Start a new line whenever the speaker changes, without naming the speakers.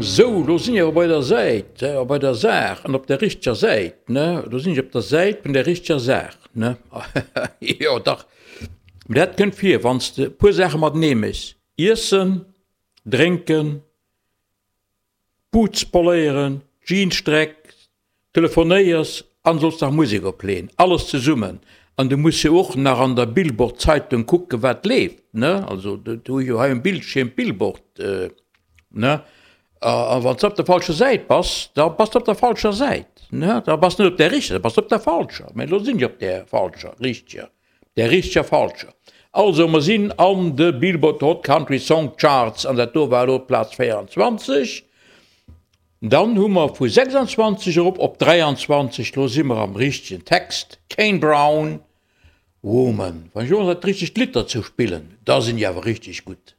Sou, lo sinn ech awer bei der Säit, bei der Saach an op der richteger Säit, ne? Lo sinn ech op der Säit vun der richteger Saach, ne? Jo, dach, mee dat kënnt vir, wann s de e puer Saache matenee méchs, Iessen, Drénken, Boots poléieren, Jeans strecks, telefonéiers an solls nach Musek opleen, alles zesummen an du muss jo och nach an der Billboard Zeitung kucken wat leeft ne, also do hu ech jo hei um Bildschierm d'Billboard ne, a wann s de op der falscher Säit bass, da bass de op der falscher Säit ne, da bass de net op där richteger, da bass de op der falscher, mä elo sinn ech op där falscher, richteger, där richteger falscher. Also mer sinn an de Billboard Hot Country Song Charts an dat do war elo d'Plaz 24. Dann hu mer vu 26 erop op 23, lo si mer am richtegen Text, Kane Brown, Woman. Wann ech elo nach dat richtegt Lidd derzou spillen, da sinn déi awer richteg gutt.